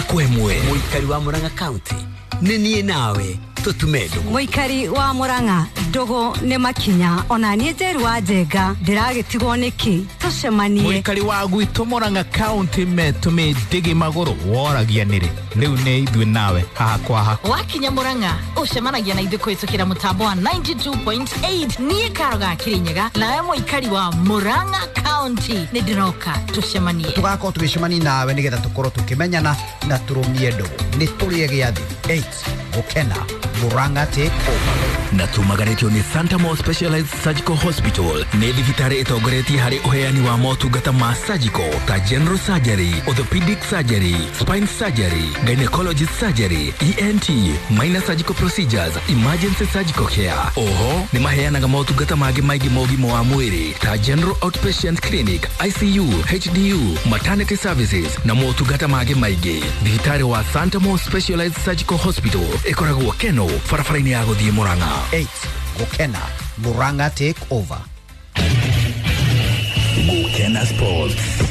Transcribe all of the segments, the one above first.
Ĩmwe kwa ĩmwe. Mũikari wa Murang'a County, nĩ niĩ nawe tũtume ndũgũ. Mũikari wa Murang'a, ndũgũ nĩ makinya. Ona niĩ Njeru wa Njenga ndĩragĩtigwo nĩkĩ? Tũcemanie. Mũikari wa gwitũ Murang'a County metũmĩ ndĩgĩ magũrũ woragia nĩrĩ. Rĩu nĩ ithuĩ nawe haha kwa haha. Wakinya Murang'a ũcemanagia na ithuĩ kũhĩtũkĩra mũtambo wa 92.8. Niĩ Karo ga Kĩrĩnyaga nawe mũikari wa Murang'a County nĩ ndĩroka tũcemanie. Tũgakorwo tũgĩcemania nawe nĩgetha tũkorwo tũkĩmenyana na tũrũmie ndũgũ. Nĩ tũrĩe gĩathĩ 8 Gũkena Murang'a take over. Na tumagaretio nĩ Santa Mo Specialized Surgical Hospital, nĩ thibitarĩ ĩtongoretie harĩ ũheani wa motungata ma surgical ta general surgery, orthopedic surgery, spine surgery, gynecology surgery, ENT, minor surgical procedures, emergency surgical care. Oho nĩ maheanaga motungata mangĩ maingĩ ma ũgima wa mwĩrĩ ta general outpatient clinic, ICU, HDU, maternity services na motungata mangĩ maingĩ. Thibitarĩ wa Santa Mo Specialized Surgical Hospital ĩkoragwo Keno, barabara-inĩ ya gũthiĩ Murang'a. 8 Gũkena Murang'a take over. Gũkena Sports.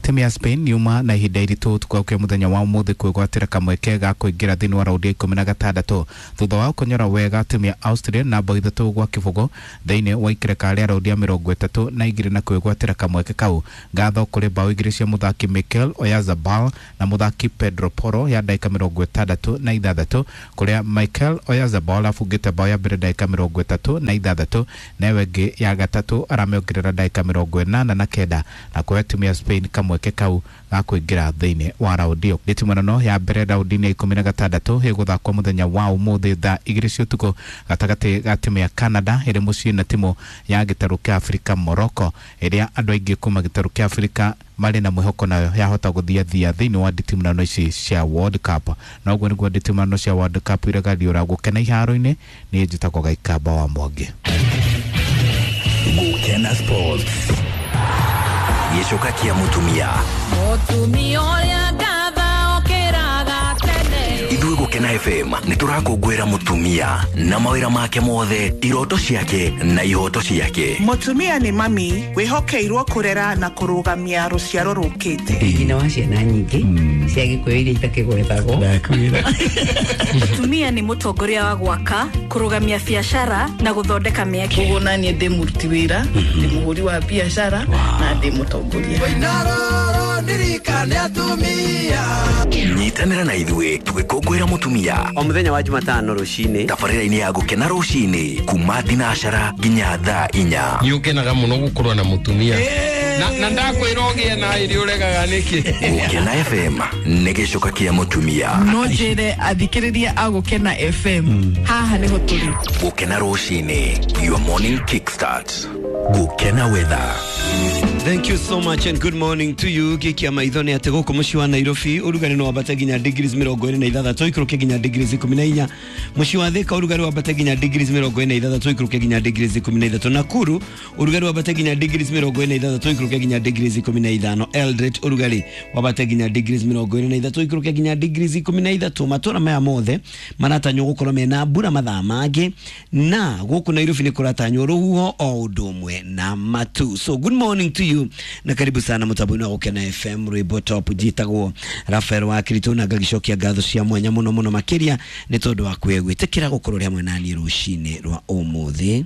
Timu ya Spain yuma na ihinda iritũ ũtukũ wa mũthenya wa ũmũthĩ kwĩgwatĩra kamweke ga kũingĩra thĩinĩ wa raundi ya 16 thutha wa kũnyora wega timu ya Austria na bao 3-0 thĩinĩ wa ikereka rĩa raundi ya 32 na kwĩgwatĩra kamweke kau. Ngatho kũrĩ bao 2 cia mũthaki Mikel Oyarzabal na mũthaki Pedro Porro ya ndagĩka 66, kũrĩa Mikel Oyarzabal abungĩte bao ya mbere ndagĩka 36 na ĩyo ĩngĩ ya gatatũ aramĩongerera ndagĩka 89 na kũhe timu ya Spain kamweke kau ga kũingĩra thĩinĩ wa raundi ĩyo. Nditimũrano ya mbere raundi-inĩ ya 16 ĩgũthakwo mũthenya wa ũmũthĩ thaa 2 cia ũtukũ gatagatĩ ga timu ya Canada ĩrĩ mũciĩ na timu ya gĩtarũ kĩa Afrika Morocco, ĩrĩa andũ aingĩ kuma gĩtarũ kĩa Afrika marĩ na mwĩhoko nayo yahota gũthiathia thĩinĩ wa nditimũrano ici cia World Cup. Na ũguo nĩguo nditimũrano cia World Cup iregariũra gũkena iharo-inĩ. Niĩ njĩtagwo Gaikamba wa Mwangi. Gũkena Sports. Gĩcoka kĩa mũtumia. Mũtumia ũrĩa ngatha okĩraga tene. Ithuĩ Gũkena FM nĩ tũrakũngũĩra mũtumia na mawĩra make mothe, iroto ciake na ihoto ciake. Mũtumia nĩ mami wĩhokeirwo kũrera na kũrũgamia rũciaro rũkĩte. Nyina wa ciana nyingĩ cia Gĩkũyũ iria itakĩgwetagwo. Mũtumia nĩ mũtongoria wa gwaka, kũrũgamia biacara na gũthondeka mĩeke. Koguo naniĩ ndĩ mũruti wĩra, ndĩ mũhũri wa biacara na ndĩ mũtongoria. Nyitanĩra na ithuĩ tũgĩkũngũĩra mũtumia o mũthenya wa Jumatano rũcinĩ tabarĩra-inĩ ya Gũkena rũcinĩ kuma thinacara nginya thaa 4. Nĩ ũkenaga mũno gũkorwo na mũtumia na ndakwĩra ũgĩe na ĩrĩ ũregaga nĩkĩ. Gũkena FM nĩ gĩcoka kĩa mũtumia. No njĩre athikĩrĩria a Gũkena FM haha nĩho tũrĩ. Gũkena rũcinĩ, your morning kickstart. Gũkena weather. Thank you so much and good morning to you. Gikia maitho nĩ atĩ gũkũ mũciĩ wa Nairobi ũrugarĩ no wambate nginya degrees 26 ikũrũke nginya degrees 14. Mũciĩ wa Thika ũrugarĩ wambate nginya degrees 46 ikũrũke nginya degrees 13. Nakuru ũrugarĩ wambate nginya degrees 46 ikũrũke nginya degrees 15. Eldoret ũrugarĩ wambate nginya degrees 23 ikũrũke nginya degrees 13. Matũra maya mothe maratanywo gũkorwo mena mbura mathaa mangĩ, na gũkũ Nairobi nĩ kũratanywo rũhuho o ũndũ ũmwe na matu. So good morning to you na karibu sana mũtambo-inĩ wa Gũkena FM. Rwĩmbo top njĩtagwo Rafael wa Kirito na ngagicokia ngatho cia mwanya mũno mũno makĩria nĩ tondũ wa gwĩtĩkĩra gũkorwo ũrĩ hamwe naniĩ rũcinĩ rwa ũmũthĩ.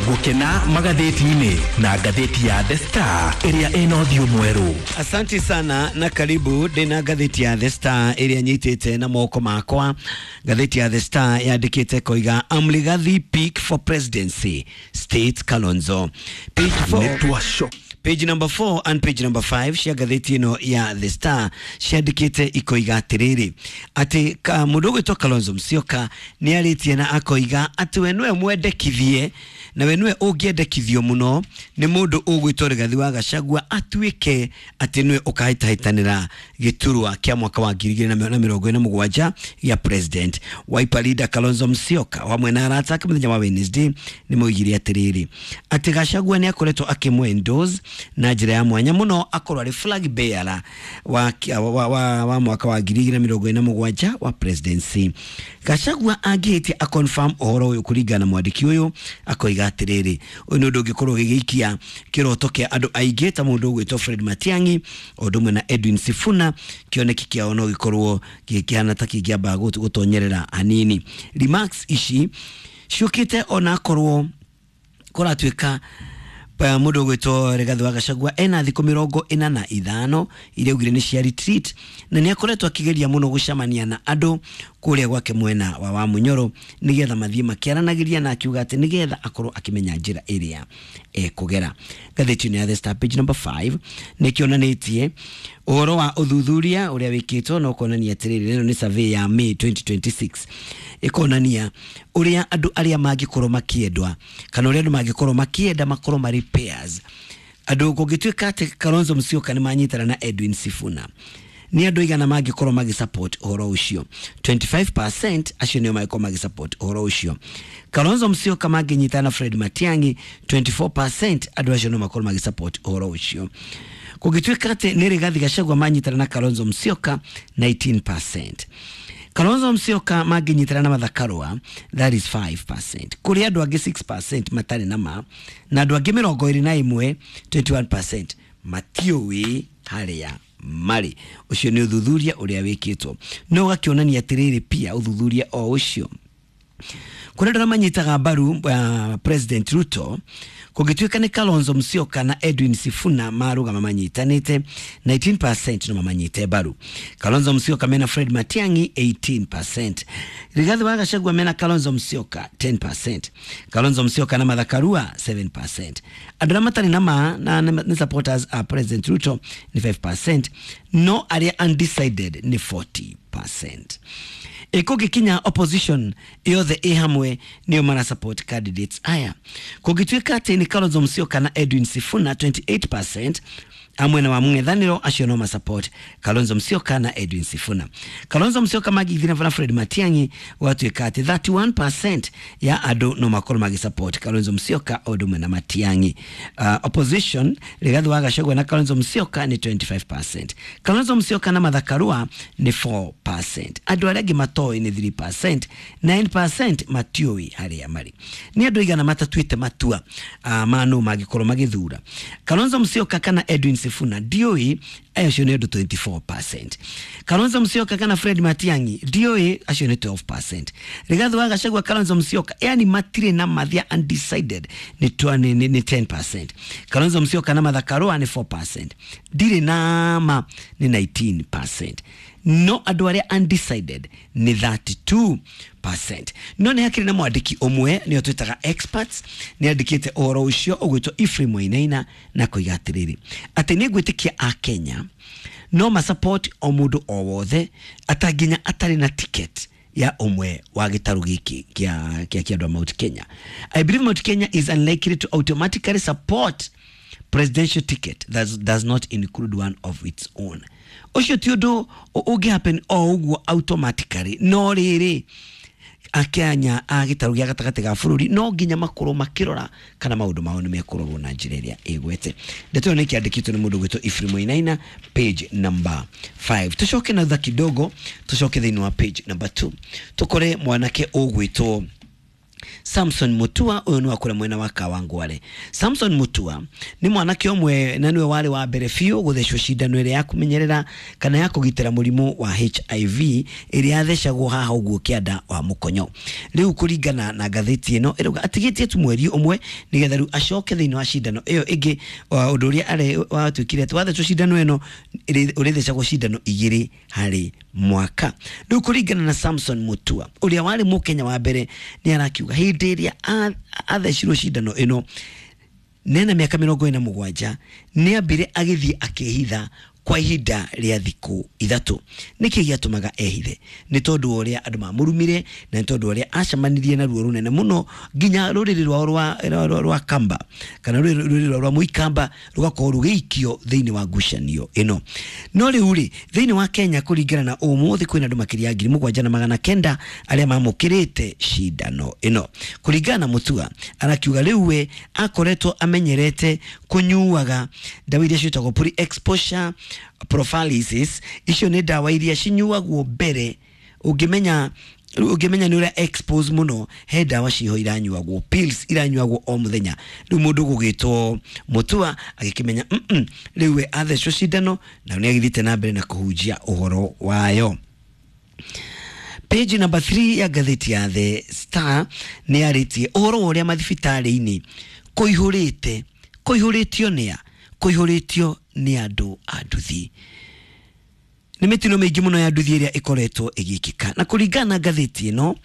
Gũkena magathĩti-inĩ na ngathĩti ya The Star ĩrĩa ĩna ũthiũ mwerũ. Asante sana na karibu. Ndĩna ngathĩti ya The Star ĩrĩa nyitĩte na moko makwa. Ngathĩti ya The Star yandĩkĩte koiga Amrigathi pick for presidency state Kalonzo. Page 4, page number 4 and page number 5 cia ngathĩti ĩno ya The Star ciandĩkĩte ikoiga atĩrĩrĩ atĩ mũndũ ũgwĩtwo Kalonzo Musyoka nĩ arĩtie na akoiga atĩ we nĩwe mwendekithie na we nĩwe ũngĩendekithio mũno nĩ mũndũ ũgwĩtwo Rigathi wa Gachagua atuĩke atĩ nĩwe ũkahĩtahĩtanĩra gĩturwa kĩa mwaka wa 2027 gĩa president. Wiper leader Kalonzo Musyoka hamwe na arata ake mũthenya wa Wednesday nĩ moigire atĩrĩrĩ atĩ Gachagua nĩ akoretwo akĩmwe endorse na njĩra ya mwanya mũno akorwo arĩ flag bearer wa mwaka wa 2027 wa presidency. Gachagua angĩhĩtia aconfirm ũhoro ũyũ kũringana na mwandĩki ũyũ akoiga Ĩkoiga atĩrĩrĩ, ũyũ nĩ ũndũ ũngĩkorwo ũgĩgĩikia kĩroto kĩa andũ aingĩ ta mũndũ ũgwĩtwo Fred Matiang'i o ũndũ ũmwe na Edwin Sifuna. Kĩoneki kĩao no gĩkorwo gĩkĩhana ta kĩngĩamba gũtonyerera hanini. Remarks ici ciũkĩte onakorwo kũratuĩka mũndũ ũgwĩtwo Rigathĩ wa Gachagua ena thikũ 45 iria augire nĩ cia retreat, na nĩ akoretwo akĩgeria mũno gũcemania na andũ kũrĩa gwake mwena wa Wamunyoro nĩgetha mathiĩ makĩaranagĩria, na akiuga atĩ nĩgetha akorwo akĩmenya njĩra ĩrĩa ekũgera. Ngathĩti-inĩ ya The Star page number 5 nĩ kĩonanĩtie ũhoro wa ũthuthuria ũrĩa wĩkĩtwo na ũkonania atĩrĩrĩ, ĩno nĩ survey ya May 2026, ĩkonania ũrĩa andũ arĩa mangĩkorwo makĩendwa kana ũrĩa andũ mangĩkorwo makĩenda makorwo marĩ pairs. Andũ kũngĩtuĩka atĩ Kalonzo Musyoka nĩ manyitana na Edwin Sifuna, nĩ andũ aigana mangĩkorwo magĩsupport ũhoro ũcio? 25% acio nĩo mangĩkorwo magĩsupport ũhoro ũcio. Kalonzo Musyoka mangĩnyitana na Fred Matiang'i, 24% andũ acio no makorwo magĩsupport ũhoro ũcio. Kũngĩtuĩka atĩ nĩ Rigathi Gachagua manyitana na Kalonzo Musyoka, 19%. Kalonzo Musyoka mangĩnyitana na Martha Karua, that is 5%. Kũrĩ andũ angĩ 6% matarĩ na ma, na andũ angĩ 21, 21% matiũĩ harĩa marĩ. Ũcio nĩ ũthuthuria ũrĩa wĩkĩtwo, no ũgakĩonania atĩrĩrĩ, pia ũthuthuria o ũcio kũrĩ andũ arĩa manyitaga mbaru President Ruto, kũngĩtuĩka nĩ Kalonzo Musyoka na Edwin Sifuna marũgama manyitanĩte, 19% no mamanyite mbaru. Kalonzo Musyoka mena Fred Matiang'i, 18%. Rigathi wa Gachagua mena Kalonzo Musyoka, 10%. Kalonzo Musyoka na Martha Karua, 7%. Andũ arĩa matarĩ na ma na nĩ supporters a President Ruto nĩ 5%, no arĩa undecided nĩ 40%. Ĩkũngĩkinya opposition yothe ĩ hamwe nĩo mara support candidates aya. Kũngĩtuĩka atĩ nĩ Kalonzo Musyoka na Edwin Sifuna, 28% amwena wa mũng'ethanĩro acio no masupport Kalonzo Musyoka na Edwin Sifuna. Kalonzo Musyoka magithina na Fred Matiang'i, gwatuĩka atĩ 31% ya andũ no makorwo magĩsupport Kalonzo Musyoka o ũndũ ũmwe na Matiang'i. Opposition Rigathi wa Gachagua na Kalonzo Musyoka nĩ 25%. Kalonzo Musyoka na Martha Karua nĩ 4%. Andũ arĩa angĩ matoĩ nĩ 3%, 9% matiũĩ harĩa marĩ. Nĩ andũ aigana matatuĩte matua ma nũ mangĩkorwo magĩthura Kalonzo Musyoka kana Edwin Sifuna? Ndiũĩ, acio nĩ andũ 24%. Kalonzo Musyoka kana Fred Matiang'i, ndiũĩ, acio nĩ 12%. Rigathi wa Gachagua, Kalonzo Musyoka, yani matirĩ na mathia, undecided nĩ 10%. Kalonzo Musyoka na Martha Karua nĩ 4%. Ndirĩ na ma nĩ 19%, no andũ arĩa undecided nĩ 32%. No nĩ hakĩrĩ na mwandĩki ũmwe nĩo twĩtaga experts, nĩ andĩkĩte ũhoro ũcio ũgwĩtwo Ephraim Wainaina, na koiga atĩrĩrĩ atĩ nĩ ngwĩtĩkia a Kenya no masupport o mũndũ o wothe atanginya atarĩ na ticket ya ũmwe wa gĩtarũ gĩkĩ kĩa andũ a Mount Kenya. I believe Mount Kenya is unlikely to automatically support presidential ticket that does not include one of its own. Ũcio ti ũndũ ũngĩ happen o ũguo automatically, no rĩrĩ akenya a gĩtarũ gĩa gatagatĩ ga bũrũri no nginya makorwo makĩrora kana maũndũ mao nĩ mekũrorwo na njĩra ĩrĩa ĩgwete. Ndeto ĩyo nĩ ĩkĩandĩkĩtwo nĩ mũndũ ũgwĩtwo Ephraim Wainaina, page number 5. Tũcoke na thutha kidogo, tũcoke thĩinĩ wa page number 2, tũkore mwanake ũgwĩtwo Samson Mutua. Ũyũ nĩ wa kũrĩa mwena wa Kawangware. Samson Mutua nĩ mwanake ũmwe na nĩwe warĩ wa mbere biũ gũthecwo cindano ĩrĩa ya kũmenyerera kana ya kũgitĩra mũrimũ wa HIV ĩrĩa yathecagwo haha ũguo kĩanda wa mũkonyo. Rĩu kũringana na ngathĩti ĩno ĩrauga atigĩtie tu mweri ũmwe nĩgetha rĩu acoke thĩinĩ wa cindano ĩyo ĩngĩ. Ũndũ ũrĩa arĩ watuĩkire atĩ wathecwo cindano ĩno ũrĩthecagwo cindano 2 harĩ mwaka. Rĩu kũringana na Samson Mutua ũrĩa warĩ mũkenya wa mbere, nĩ arakiuga hĩndĩ ĩrĩa athecirwo cindano ĩno nena mĩaka 47 nĩ ambire agĩthiĩ akĩhitha kwa ihinda rĩa thikũ 3. Nĩkĩ gĩatũmaga ehithe? Nĩ tondũ wa ũrĩa andũ mamũrumire na nĩ tondũ wa ũrĩa acemanirie na ruo rũnene mũno nginya rũrĩrĩ rwao rwa Kamba kana rũrĩrĩ rwao rwa Mũikamba rũgakorwo rũgĩikio thĩinĩ wa ngucanio ĩno. No rĩu rĩ, thĩinĩ wa Kenya kũringana na ũmũthĩ kwĩna andũ makĩria ya 7,900 arĩa mamũkĩrĩte cindano ĩno. Kũringana na Mutua, arakiuga rĩu we akoretwo amenyerete kũnyuaga ndawa iria ciĩtagwo pre-exposure prophylaxis. Icio nĩ ndawa iria cinyuagwo mbere ũngĩmenya Rĩu ũngĩmenya nĩ ũrĩa expose mũno, he ndawa ciho iranyuagwo, pills iranyuagwo o mũthenya. Rĩu mũndũ gũgĩtwo Mutua agĩkĩmenya rĩu we athecwo cindano na nĩ agĩthiĩte na mbere na kũhunjia ũhoro wayo. Page number 3 ya ngathĩti ya The Star nĩ yarĩtie ũhoro wa ũrĩa mathibitarĩ-inĩ kũihũrĩte, kũihũrĩtio nĩa, kũihũrĩtio nĩ andũ a nduthi. Nĩ mĩtino mĩingĩ mũno ya nduthi ĩrĩa ĩkoretwo ĩgĩkĩka, na kũringana na ngathĩti ĩno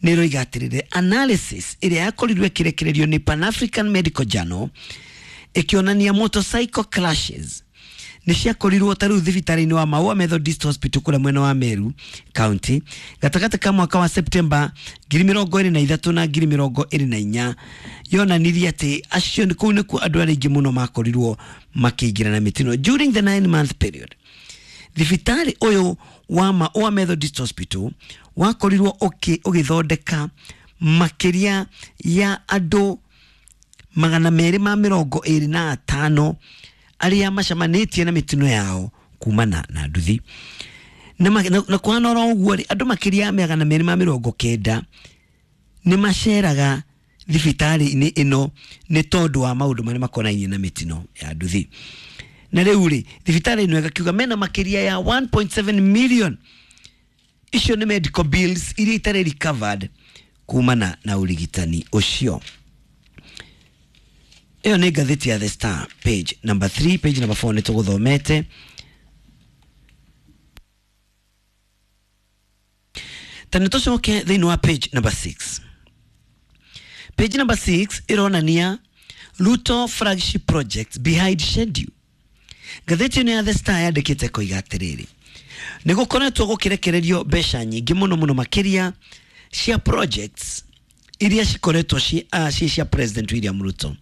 nĩ ĩroiga atĩrĩrĩ, analysis ĩrĩa yakorirwo ĩkĩrekererio nĩ Pan African Medical Journal ĩkĩonania motorcycle clashes nĩ ciakorirwo ta rĩu thibitarĩ-inĩ wa Maua Methodist Hospital kũrĩa mwena wa Meru County gatagatĩ ka mwaka wa September 2023 na 2024, yonanirie atĩ acio kũu nĩkuo andũ arĩa aingĩ mũno makorirwo makĩingĩra na mĩtino during the 9 month period. Thibitarĩ ũyũ wa Maua Methodist Hospital wakorirwo ũgĩthondeka makĩria ya andũ 225 arĩa macemanĩtie na mĩtino yao kumana na nduthi. Na kũhana oro ũguo rĩ, andũ makĩria ya 290 nĩ maceraga thibitarĩ-inĩ ĩno nĩ tondũ wa maũndũ marĩa makonainie na mĩtino ya nduthi. Na rĩu rĩ, thibitarĩ ĩno ĩgakiuga mena makĩria ya 1.7 million, icio nĩ medical bills iria itarĩ recovered kumana na ũrigitani ũcio. Ĩyo nĩ ngathĩti ya The Star, page number 3. Page number 4 nĩ tũgũthomete. Ta nĩ tũcoke thĩinĩ wa page number 6. Page number 6 ĩronania Ruto flagship project behind schedule. Ngathĩti ĩno ya The Star yandĩkĩte koiga atĩrĩrĩ, nĩ gũkoretwo gũkĩrekererio mbeca nyingĩ mũno mũno makĩria cia projects iria cikoretwo ci cia President William Ruto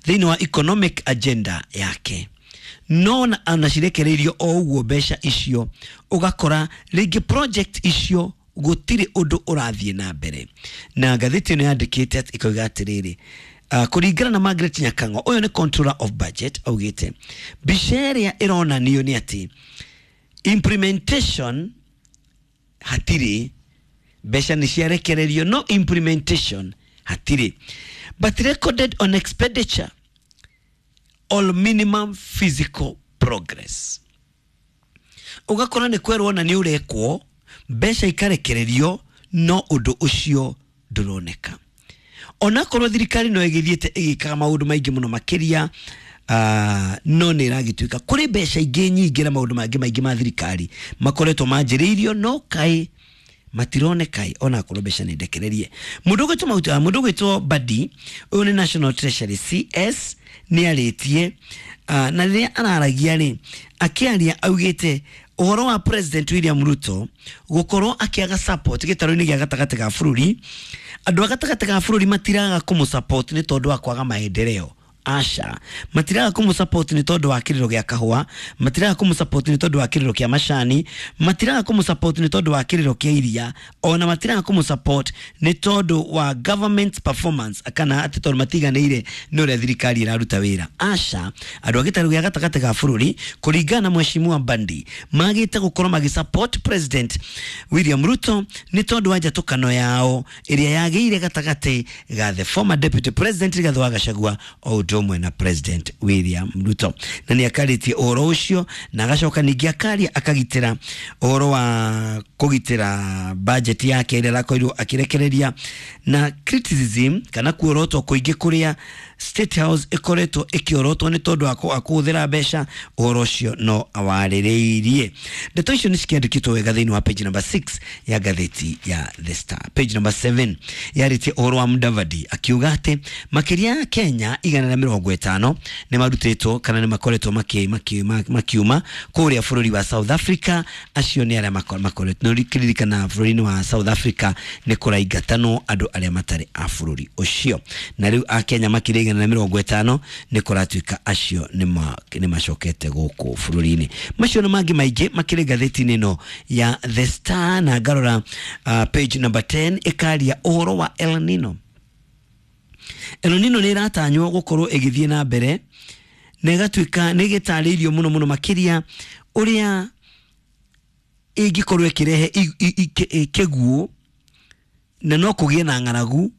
thĩinĩ wa economic agenda yake, no ona cirekereirio o ũguo mbeca icio, ũgakora rĩngĩ project icio gũtirĩ ũndũ ũrathiĩ na mbere. Na ngathĩti ĩno yandĩkĩte ĩkoiga atĩrĩrĩ, kũringana na Margaret Nyakang'o, ũyũ nĩ controller of budget, augĩte mbica ĩrĩa ĩronanio nĩ atĩ implementation hatirĩ, mbeca nĩ ciarekererio no implementation hatirĩ, but recorded on expenditure all minimum physical progress. Ũgakora nĩ kwerwo na nĩ ũrekwo, mbeca ikarekererio, no ũndũ ũcio ndũroneka, onakorwo thirikari no ĩgĩthiĩte ĩgĩkaga maũndũ maingĩ mũno makĩria, no nĩ ĩragĩtuĩka kũrĩ mbeca ingĩ nyingĩ na maũndũ mangĩ maingĩ ma thirikari makoretwo manjĩrĩirio no kaĩ matironeka, onakorwo mbeca nĩ ndekererie. Mũndũ ũgwĩtwo Badi, ũyũ nĩ National Treasury CS, nĩ arĩtie, na rĩrĩa araragia rĩ, akĩaria augĩte ũhoro wa President William Ruto gũkorwo akĩaga support gĩtarũ-inĩ gĩa gatagatĩ ga bũrũri. Andũ a gatagatĩ ga bũrũri matiraga kũmũ support nĩ tondũ wa kwaga maendeleo, aca. Matiraga kũmũ support nĩ tondũ wa kĩrĩro gĩa kahũa, matiraga kũmũ support nĩ tondũ wa kĩrĩro kĩa macani, matiraga kũmũ support nĩ tondũ wa kĩrĩro kĩa iria, ona matiraga kũmũ support nĩ tondũ wa government performance kana atĩ tondũ matiganĩire nĩ ũrĩa thirikari ĩraruta wĩra, aca. Andũ a gĩtarũ gĩa gatagatĩ ga bũrũri, kũringana na Mheshimiwa Mbandi, magĩte gũkorwo magĩ support President William Ruto nĩ tondũ wa njatũkano yao ĩrĩa yagĩire gatagatĩ ga the former Deputy President Rigathĩ wa Gachagua o ũndũ ũmwe na President William Ruto. Na nĩ akarĩtie ũhoro ũcio na agacoka ningĩ akaria akagitĩra ũhoro wa kũgitĩra budget yake ĩrĩa arakorirwo akĩrekereria na criticism kana kuorotwo kũingĩ kũrĩa State House ĩkoretwo ĩkĩorotwo nĩ tondũ wa kũhũthĩra mbeca. Ũhoro ũcio no awarĩrĩirie. Ndeto icio nĩ cikĩandĩkĩtwo wega thĩinĩ wa page number 6 ya ngathĩti ya The Star. Page number 7 yarĩtie ũhoro wa Mudavadi akiuga atĩ makĩria ya Kenya 150 nĩ marutĩtwo kana nĩ makoretwo makiuma kũrĩa bũrũri wa South Africa. Acio nĩ arĩa makoretwo nĩ kĩririkana bũrũri-inĩ wa South Africa nĩ kũraingatanwo andũ arĩa matarĩ a bũrũri ũcio, na rĩu akenya makĩria 150 nĩ kũratuĩka acio nĩ macokete gũkũ bũrũri-inĩ. Macio na mangĩ maingĩ makĩrĩ ngathĩti-inĩ ĩno ya The Star. Na ngarora page number 10, ĩkaria ũhoro wa El Nino. El Nino nĩ ĩratanywo gũkorwo ĩgĩthiĩ na mbere na ĩgatuĩka nĩ ĩgĩtarĩirio mũno mũno makĩria ũrĩa ĩngĩkorwo ĩkĩrehe kĩguũ. Na no kũgĩe na ng'aragu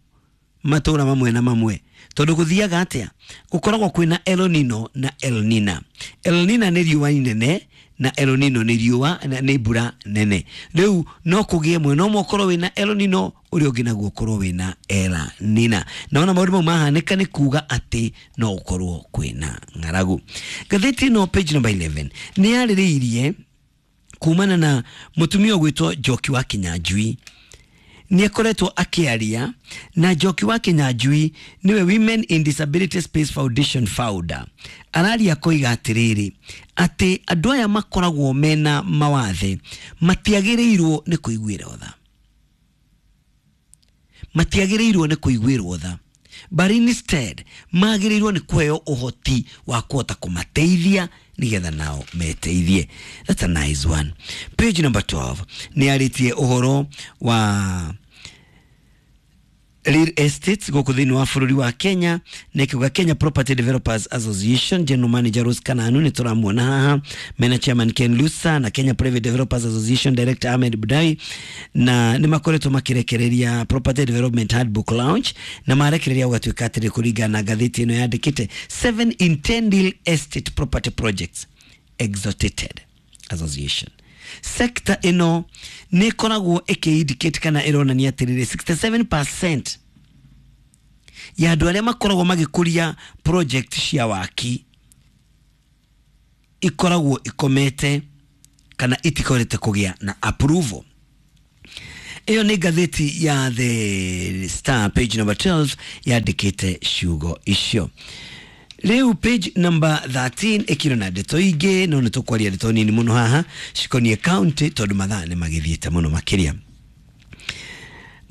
matũra mamwe na mamwe, tondũ gũthiaga atĩa, gũkoragwo kwĩna El Nino na El Nina. El Nina nĩ riũa inene na El Nino nĩ riũa nĩ mbura nene. Rĩu no kũgĩe mwena ũmwe ũkorwo wĩna El Nino, ũrĩa ũngĩ naguo ũkorwo wĩna El Nina. Na ona maũndũ mau mahanĩka nĩ kuga atĩ no gũkorwo kwĩna ng'aragu. Ngathĩti ĩno page number 11 nĩ yarĩrĩirie kumana na mũtumia ũgwĩtwo Njoki wa Kinyanjui. Nĩ akoretwo akĩaria na Njoki wa Kinyanjui nĩwe Women in Disability Space Foundation founder. Araria koiga atĩrĩrĩ, atĩ andũ aya makoragwo mena mawathe matiagĩrĩirwo nĩ kũiguĩrwo tha, matiagĩrĩirwo nĩ kũiguĩrwo tha, but instead magĩrĩirwo nĩ kũheo ũhoti wa kũhota kũmateithia nĩgetha nao meteithie. That's a nice one. Page number 12 nĩ arĩtie ũhoro wa real estates gũkũ thĩinĩ wa bũrũri wa Kenya, na ĩkiuga Kenya Property Developers Association General Manager Rose Kananu nĩ tũramuona haha, mena Chairman Ken Lusa na Kenya Private Developers Association Director Ahmed Budai, na nĩ makoretwo makĩrekereria Property Development Handbook launch, na marekereria gũgatuĩka atĩrĩ, kũringana na ngathĩti ĩno yandĩkĩte 7 in 10 real estate property projects exalted association sector ĩno nĩ ĩkoragwo ĩkĩ-indicate kana ĩronania atĩrĩrĩ, 67% ya andũ arĩa makoragwo magĩkũria project cia waki ikoragwo ikomete kana itikorete kũgĩa na approval. Ĩyo nĩ ngathĩti ya The Star page number 12 yandĩkĩte ciugo icio. Rĩu page number 13 ĩkĩrĩ na ndeto ingĩ, no nĩ tũkwaria ndeto nini mũno haha cikoniĩ county tondũ mathaa nĩ magĩthiĩte mũno makĩria.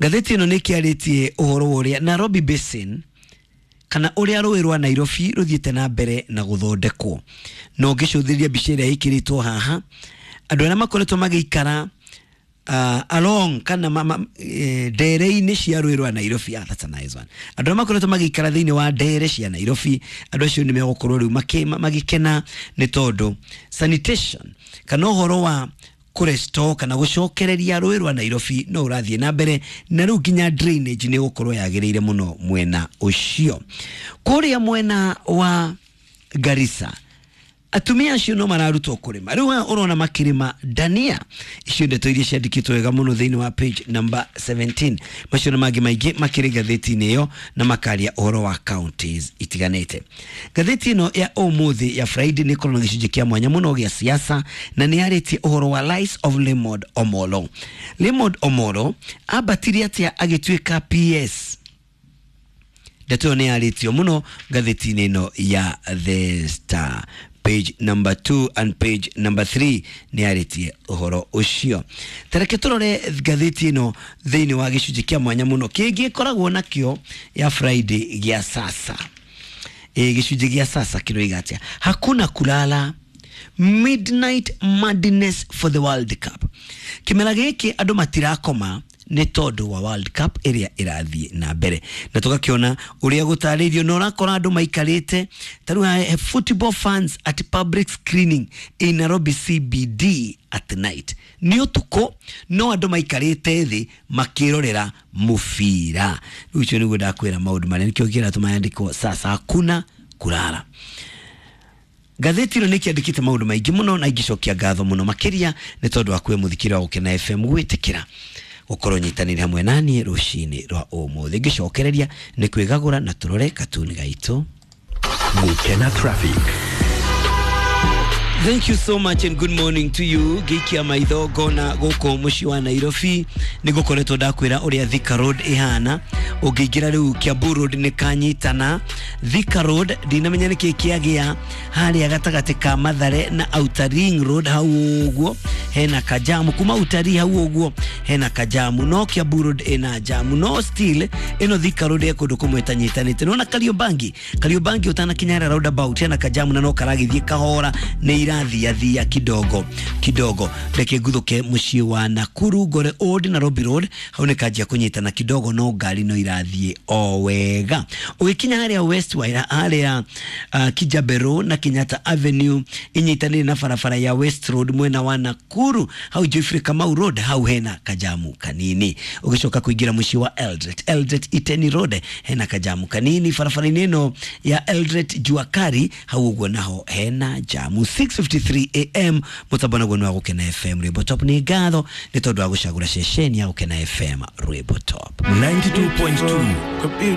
Ngathĩti ĩno nĩ ĩkĩarĩtie ũhoro wa ũrĩa Nairobi Basin kana ũrĩa rũĩ rwa Nairobi rũthiĩte na mbere na gũthondekwo. Na ũngĩcũthĩrĩria mbica ĩrĩa ĩkĩrĩtwo haha, andũ arĩa makoretwo magĩikara along kana ndere-inĩ cia rũĩ rwa Nairobi, that's a nice one. Andũ arĩa makoretwo magĩikara thĩinĩ wa ndere cia Nairobi, andũ acio nĩ megũkorwo rĩu magĩkena nĩ tondũ sanitation kana ũhoro wa kũrestore kana gũcokereria rũĩ rwa Nairobi no ũrathiĩ na mbere, na rĩu nginya drainage nĩ gũkorwo yagĩrĩire mũno mwena ũcio. Kũrĩa mwena wa Garissa atumia acio no mararutwo kũrĩma. Rĩu aya ũrona makĩrĩma dania. Icio ndeto iria ciandĩkĩtwo wega mũno thĩinĩ wa page number 17. Macio na mangĩ maingĩ makĩrĩ ngathĩti-inĩ ĩyo na makaria ũhoro wa counties itiganĩte. Ngathĩti ĩno ya ũmũthĩ ya Friday nĩ ĩkoragwo na gĩcunjĩ kĩa mwanya mũno gĩa siasa, na nĩ yarĩtie ũhoro wa lies of Lemond Omolo. Lemond Omolo ambatirie atĩa agĩtuĩka PS? Ndeto ĩyo nĩ yarĩtio mũno ngathĩti-inĩ ĩno ya The Star. Page number 2 and page number 3 nĩ yarĩtie ũhoro ũcio. Tareke tũrore ngathĩti ĩno thĩinĩ wa gĩcunjĩ kĩa mwanya mũno kĩngĩ ĩkoragwo nakĩo ya Friday gĩa sasa. Gĩcunjĩ gĩa sasa kĩroiga atĩa? Hakuna kulala, midnight madness for the World Cup. Kĩmera gĩkĩ andũ matirakoma nĩ tondũ wa World Cup ĩrĩa ĩrathiĩ na mbere, na tũgakĩona ũrĩa gũtarĩirio na ũrakora andũ maikarĩte ta rĩu football fans at public screening in Nairobi CBD at night. Nĩ ũtukũ no andũ maikarĩte thĩ makĩrorera mũbira. Rĩu ũcio nĩguo ndakwĩra maũndũ marĩa nĩkĩo kĩratũma yandĩkwo sasa hakuna kulala. Ngathĩti ĩno nĩ ĩkĩandĩkĩte maũndũ maingĩ mũno na ingĩcokia ngatho mũno makĩria nĩ tondũ wa kwĩ mũthikĩra wa Gũkena FM gwĩtĩkĩra gũkorwo nyitanĩire hamwe naniĩ rũcinĩ rwa ũmũthĩ. Ngĩcokereria nĩ kwĩgagũra na tũrore katuni gaitũ. Gũkena Traffic. Thank you so much and good morning to you. Gĩikia maitho ngona gũkũ mũciĩ wa Nairobi nĩ gũkoretwo ndakwĩra ũrĩa Thika Road ĩhana. Ũngĩingĩra rĩu Kiambu Road nĩ kanyitana. Thika Road ndinamenya nĩkĩ kĩagĩa harĩa gatagatĩ ka Mathare na Outer Ring Road hau ũguo hena kajamu, kuma Outer hau ũguo hena kajamu, no Kiambu Road ĩna jamu, no still ĩno Thika Road ĩ kũndũ kũmwe ĩtanyitanĩte. Nĩwona Kariobangi, Kariobangi ũtanakinya harĩa roundabout hena kajamu na no karagĩthiĩ kahora nĩ irathiathia kidogo kidogo. Reke nguthuke muciĩ wa Nakuru ngore Old Nairobi Road, hau nĩ kanjia kũnyitana kidogo, no ngari no irathiĩ o wega. Ũgĩkinya harĩa West Waira harĩa Kijabe Road na Kenyatta Avenue inyitanĩire na barabara ya West Road mwena wa Nakuru, hau Geoffrey Kamau Road hau hena kajamu kanini. Ũgĩcoka kũingĩra mũciĩ wa Eldoret, Eldoret Iteni Road hena kajamu kanini. Barabara-inĩ ĩno ya Eldoret Juakari hau ũguo naho hena jamu. 6:53 am mũtambo naguo nĩ wa Gũkena FM Rwĩmbo Top. Nĩ ngatho nĩ tondũ wa gũcagũra ceceni ya Gũkena FM Rwĩmbo Top. 92.2.